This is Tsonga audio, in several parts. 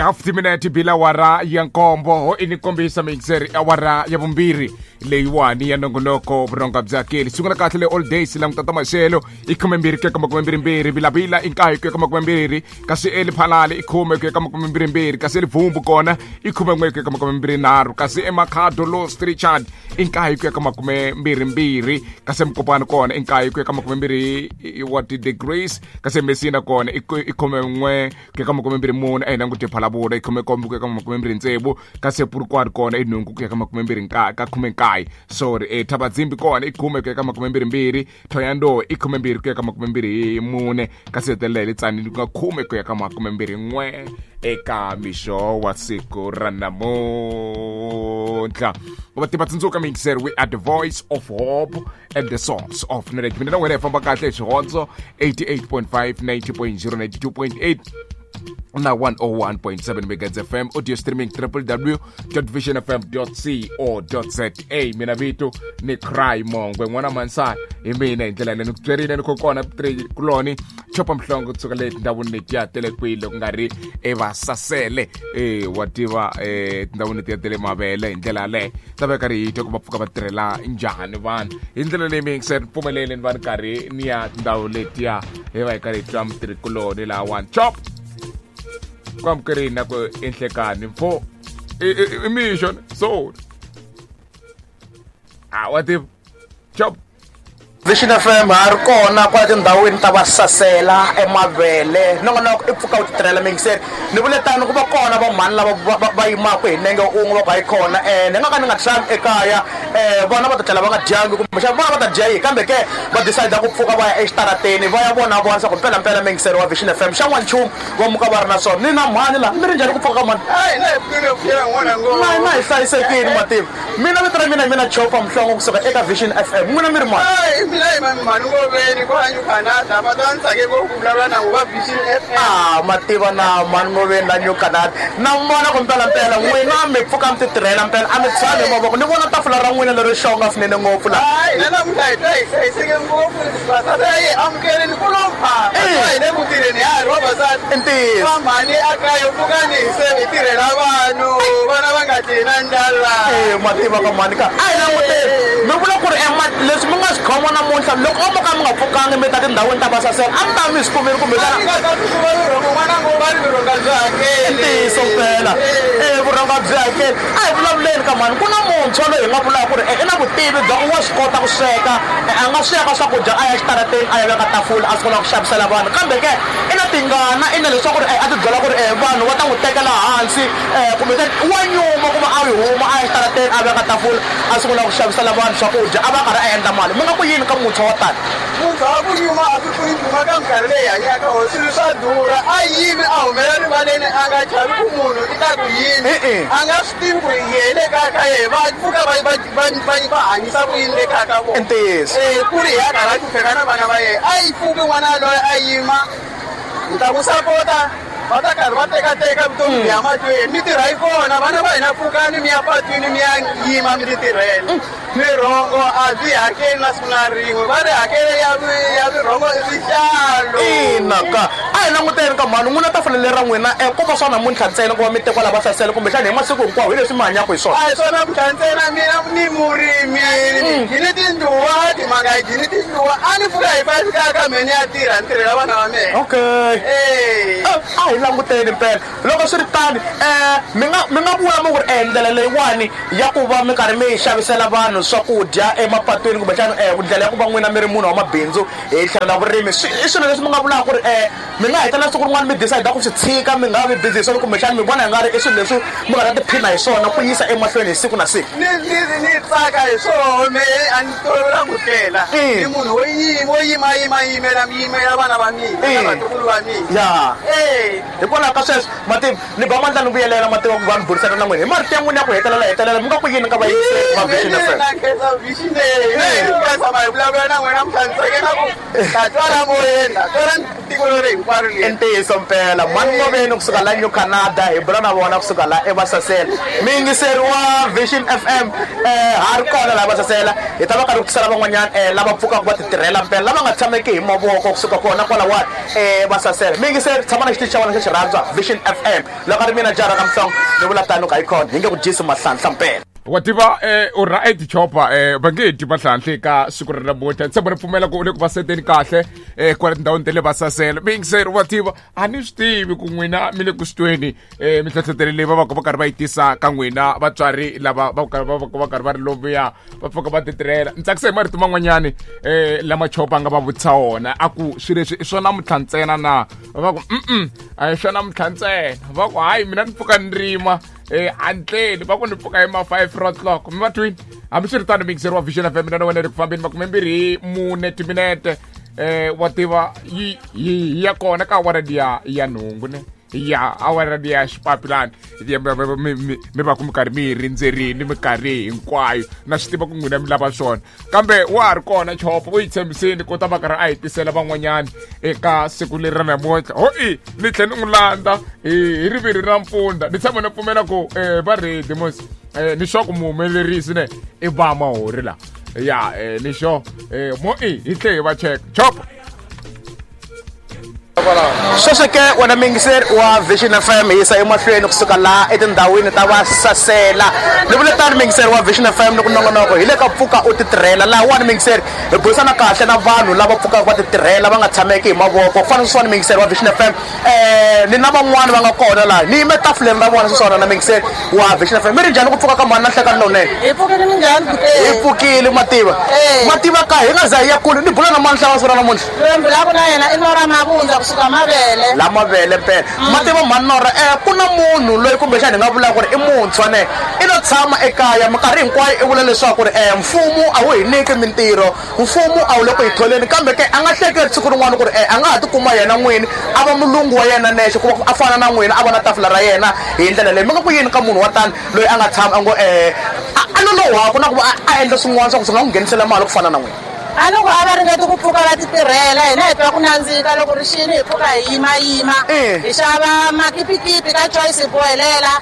Half timinete bila awara ya nkombo i ni kombisa mixer awara ya vumbirhi leyiwani ya nongonoko vurhonga bya keli sungula kahle le all days languta ta maxelo i 12 ku ya ka 22 vilavila i nkaye ku ya ka 22 kasi eliphalale i 10 ku ya ka 22 kasi elivhumbu kona i 11 ku ya ka 23 kasi emakhado los richard i nkaye ku ya ka 22 kasi emukopani kona i nkaye ku ya ka 20 wa ti-degrees kasi emessina kona i 11 ku ya ka 24 a hi languti phalavula i 17 ku ya ka 26 kasi epurukwane kona i nhungu ku ya ka 29 ka 19 sorry e thabadzimbi kona i 10 ku ya ka 22 thoyando i 12 ku ya ka 24 kasi hetelela hi le tsanini ku nga 10 ku ya ka 21 eka mixo wa siku ra namuntlha va tiva tsundzuka mixer we are the voice of hope and the source of knowledge mina na wena hi famba kahle hi swihondzo 88.5 90.0 92.8 na 101.7 megahertz fm audio streaming www.visionfm.co.za mina vito ni cry mongwe n'wana mansana hi mina hi ndlela leyi ni ku byerile ni kho kona kuloni chopa mhlongo kusuka le tindhawini letiya ta le kwihi loko nga ri evasasele e wa tiva tindhawini letiya ta le mavele hi ndlela yaleyo ta va karhi hi twa ku va pfuka va tirhela njhani vanhu hi ndlela leyi mi yingiseri pfumeleli ni va ni karhi ni ya tindhawu letiya hi va hi karhi hi twa mutirhikuloni lahawani chop ku amukerini na ku enhlekani mfo i mixo so a wa tiva chop Vision FM ha ri kona kwala tindhawini ta vasasela emavele nongonoko i pfuka u titirhela mingiseri ni vule tano ku va kona vamhani lava va yimaka hi nenge un'we va ku hayi kona um ni nga ka ni nga tshami ekaya um vana va ta tlhela va nga dyangi kumbexana vana va ta dya yihi kambe ke va decide ku pfuka va ya exitarateni va ya vona vona swa ku mpelampela mingiseri wa Vision FM xa n'wanchumu va muka va ri na swona ni na mhani laha mi ri njhani ku pfuka ka mhani na hi hlayisekile mativa Mina vito ra mina hi mina Chopa Mhlongo kusuka eka Vision FM. N'wina mi ri mani? Hayi, mina hi mani mani Ngoveni kwala New Canada. Va ta ni tsake ngopfu ku vulavula na va Vision FM. Ah, ma tiva na mani Ngoveni la New Canada. Na mi vona ku mpelampela n'wina mi pfuka mi ti tirhela mpela a mi tshami hi mavoko. Ni vona tafula ra n'wina lero xonga swinene ngopfu la. Hayi, na namuntlha hi twa hi hlayiseke ngopfu. Vasati a yi amukeleni ku lo pha. Hi le ku tirheni ya ha ri vavasati. I ntiyiso. Va mhani a kaya pfukani hi se hi tirhela vanhu. Vana va nga dyi na ndlala. E ma tiva ka mhani ka a hi languteni mi vula ku ri leswi mi nga swi khoma namuntlha loko o mo ka mi nga pfukanga mi ta tindhawini ta vasasela a mi ta mi swi kumile kumbexana i ntiyiso mpela e vurhonga byi hakeli a hi vulavuleni ka mhani ku na muntshwa loyi hi nga vulaka ku ri i na vutivi bya ku wa swi kota ku sweka a nga sweka swakudya a ya xitarateni a ya veka tafula a sungula ku xavisela vanhu kambe ke i na tingana i na leswaku ri a ti byela ku ri vanhu va ta n'wi tekela hansi kumbe wa nyuma ku va a yi huma a ya xitarateni a veka tafula a sungula ku xavisela vanhu swakudya a va a karhi a endla mali mi nga ku yini ka muntshwa wa tani Muntshwa wa ku nyuma a swi pfuni nchumu ka minkarhi leyi hanyaka ho swilo swa durha a yimi a humela rivaleni a nga chavi ku munhu i ta ku yini a nga swi tivi ku yehe le kaya ka yehe va pfuka va hanyisa ku yini le kaya ka vona ntiyiso ku ri hi a karhi a hlupheka na vana va yehe a yi pfuki n'wana loyi a yima ni ta ku sapota va ta karhi va tekateka vutomi byi ya mahlweni mitirho yi kona vana va hina pfukani mi ya patwini mi ya yima mi ti tirhela Mirongo a byi hakeli na siku na rin'we va ri hakelo ya mirongo i swihlalo ina ka a hi languteni ka mhani n'wina tafula leri ra n'wina ko va swa namuntlha ntsena ku va mi tekiwa lava hlasela kumbexana hi masiku hinkwawo hi leswi mi hanyaka hi swona a hi swa namuntlha ntsena mina ni murimi ni ni tindluwa timanga hi ni tindluwa a ni pfuka hi 5 kaya ka me ni ya tirha ni tirhela vana va mina okay a hi languteni mpela loko swi ri tani mi nga vula mi ku ri ndlela leyiwani ya ku va mi karhi mi xavisela vanhu swakudya emapatwini kumbexana ndlela ya ku va n'wina mi ri munhu wa mabindzu hi tlhelo la vurimi swi i swilo leswi mi nga vulaka ku ri mi nga hetelela siku rin'wana mi decide ku swi tshika mi nga vi busy hi swona kumbexana mi vona hi nga ri i swilo leswi mi nga ta tiphina hi swona ku yisa emahlweni hi siku na siku ni tsaka hi swona me a ni tolovelanga ku tlela ni munhu wo yima wo yima yima yimela yimela vana va mina na vatukulu va mina ya hikwalaho ka sweswo mativa ni ba mandla ni vuyelela mativa ku va ni burisana na n'wina hi marito ya n'wina ya ku hetelela hetelela mi nga ku yini ka vayingiseri va Vision FM na khensa Vision leyi tshama hi vulavula na n'wina mhlantseke na ku ta twala moyeni na twala tiko leri hinkwaro i ntiyiso mpela mhani Ngoveni kusuka la New Canada hi bula na vona kusuka la eVasasela muyingiseri wa Vision FM ha ri kona laha Vasasela hi ta va karhi ku tisela van'wanyana lava pfukaka va ti tirhela mpela lava nga tshameki hi mavoko kusuka kona kwalawani eVasasela muyingiseri tshama na xitichi xa wena. n'wina xa xirhandzwa Vision FM. Loko a ri mina jara ka Mhlongo, ni vula tano ka Icon, hi nge ku dyisi mahlanhla mpela. Wa tiva u right Chopa, va nge dyi mahlanhla eka siku ra namuntlha. Tshemba ni pfumela ku u le ku va seteni kahle kwala tindhawini ta le Vasasela. Miyingiseri wa tiva a ni swi tivi ku n'wina mi le ku swi tweni minhlohlotelo leyi va va ka va karhi va yi tisa ka n'wina vatswari lava va karhi va va karhi va ri lomuya va pfuka va titirhela. Ni tsakisa hi marito man'wanyani lama Chopa a nga va vutisa wona, a ku swilo leswi i swa namuntlha ntsena na? Va ku a hi swa namuntlha ntsena. Va ku hayi, mina ni pfuka ni rima handleni, va ku ni pfuka hi ma 5 o'clock. Mi va twini? Hambiswiritano, miyingiseri wa Vision FM, mina na wena ri ku fambeni 24 timinete. Wa tiva yi yi ya kona ka awara liya ya nhungu ne ya awara liya xipapilani mi va ku mi karhi mi yi rindzerini minkarhi hinkwayo. Na swi tiva ku n'wina mi lava swona, kambe wa ha ri kona Chopo, u yi tshembisini ku ta va karhi a hi tisela van'wanyani eka siku leri ra namuntlha. Ho i ni tlhe ni n'wi landza hi riviri ra mpfundla. Ni tshama ni pfumela ku va ready mos ni swa ku muhumelerisi ne i va mahori la ya ni xo mo i hi tlhe hi va cheka Chopo. Sweswo ke wena miyingiseri wa Vision FM, hi yisa emahlweni kusuka laha etindhawini ta Vasasela. Ni vule tani miyingiseri wa Vision FM, ni ku nongonoko hi le ka Pfuka u Titirhela. Lahawani miyingiseri hi burisana kahle na vanhu lava pfukaka va titirhela, va nga tshameki hi mavoko. Ku fana na sweswiwani miyingiseri wa Vision FM, ni na van'wani va nga kona laha, ni yime tafuleni ra vona sweswiwani. Na miyingiseri wa Vision FM, mi ri njhani ku pfuka ka mhani na nhlekani lowunene? Hi pfukile, minjhani? Hi pfukile, mativa. Mativa ka hi nga za hi ya kule, ni bula na mani hlava siku ra namuntlha? Loyi mbulaku na yena i Nora Mavundza kusuka Mavele. La Mavele mpela. Mativa mhani Nora, ku na munhu loyi kumbexani hi nga vula ku ri i muntshwa ne, i lo tshama ekaya minkarhi hinkwayo, i vula leswaku ri mfumo a wu hi nyiki mintirho, mfumo a wu le ku hi tholeni, kambe ke a nga hleketi siku rin'wana ku ri a nga ha tikuma yena n'wini a va mulungu wa yena nexe, ku va a fana na n'wina, a va na tafula ra yena hi ndlela leyi. Mi nga ku yini ka munhu wa tani loyi a nga tshama a ngo a lolohaku na ku va a endla swin'wana swa ku swi nga n'wi nghenisela mali ku fana na n'wina? A ni ku a va ringeti ku pfuka va titirhela. Hina hi twa ku nandzika loko ri xini, hi pfuka hi yimayima, hi xava makipikipi ka Choice, hi bohelela.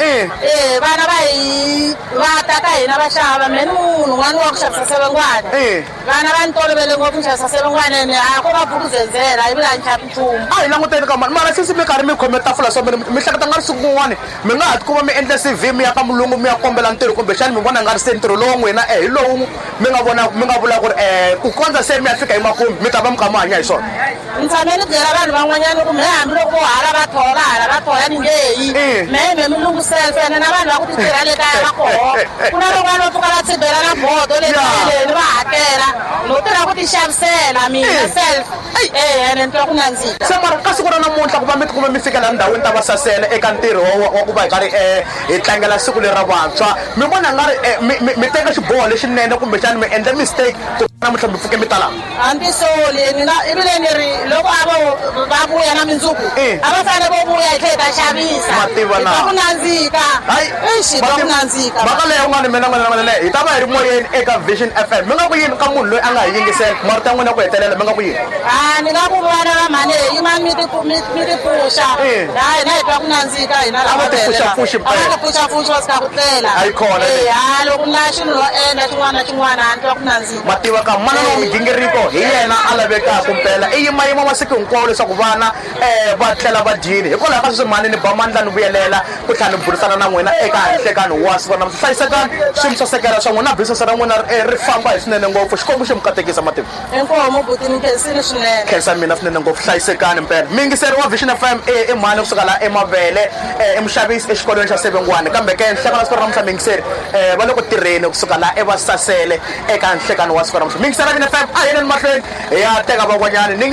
Vana va hi va ta ka hina va xava. Me ni munhu n'wana wa ku xavisa sevengwana. Vana va ni tolovele ngopfu ni xavisa sevengwana, ene a ko va bukuzenzela ivi la ni xavi nchumu. A hi languteni ka mani mara sisi mi karhi mi khome tafula so mi hleketa nga ri siku rin'wani mi nga ha tikuma mi endla CV, mi ya ka mulungu mi ya kombela ntirho, kumbexani mi vona nga ri se ntirho lowu n'wina hi lowu mi nga vona mi nga vula ku ri ku kondza se mi ya fika emakumu mi ta va mi kha mi hanya hi swona? Ni tshame ni byela vanhu van'wanyana ku me hambiloko vo hala va thola, hala va thola, ni nge yi. Me mulungu self, ene na vanhu va ku titirha le kaya va koho. Ku na van'wana va pfuka va tshibela na bodo le kayeni va hakela no tirha ku tixavisela mina self. Ene ni twa ku nandzika. Se mara ka siku ra namuntlha ku va mi tikuma mi fika laha ndhawini ta Vasasela eka ntirho wa ku va hi karhi hi tlangela siku leri ra vantshwa, mi vona nga ri mi teka xiboho lexinene kumbexani mi endle mistake ku namuntlha mi pfuke mi ta laha? Hambi soli ni nga ivile ni ri loko a vo va vuya na mindzuku, a va fanele vo vuya hi tlhela hi ta xavisa. Mativa na. Hi twa ku nandzika. Eish, hi twa ku nandzika. Mhaka leyi un'wana mina n'wina hi ta va hi ri moyeni eka Vision FM. Mi nga ku yini ka munhu loyi a nga hi yingisela marito ya n'wina ku hetelela, mi nga ku yini? A ni nga ku vana va mhani yimani mi ti pfuxa. Ha hina hi twa ku nandzika hina A va ti pfuxapfuxi. A va ti pfuxapfuxi va tshika ku tlela. A yi kona. Ha loko na xilo no endla xin'wana na xin'wana, a ni twa ku nandzika. Mativa ka manana wa migingiriko hi yena a lavekaka mpela, i yimayima masiku hinkwawo leswaku vana va tlela va dyile. Hikwalaho ka sweswi mhani ni ba mandla ni vuyelela ku tlhela ni burisana na n'wina eka nhlekani wa siku namuntlha. Hlayisekani, swi mi sasekela swa n'wina, business ra n'wina ri famba hi swinene ngopfu. Xikwembu xi mi katekisa, mativa. Inkomu buti, ni khensile swinene. Khensa mina swinene ngopfu, hlayisekani mpela. Miyingiseri wa Vision FM, i mhani kusuka laha eMavele, i muxavisi exikolweni xa Sevengwana, kambe ke nhlekani wa siku ra namuntlha miyingiseri va le ku tirheni kusuka laha eVasasele eka nhlekani wa siku ra namuntlha. Miyingiseri wa Vision FM, a hi yeleni mahlweni hi ya teka van'wanyani ni.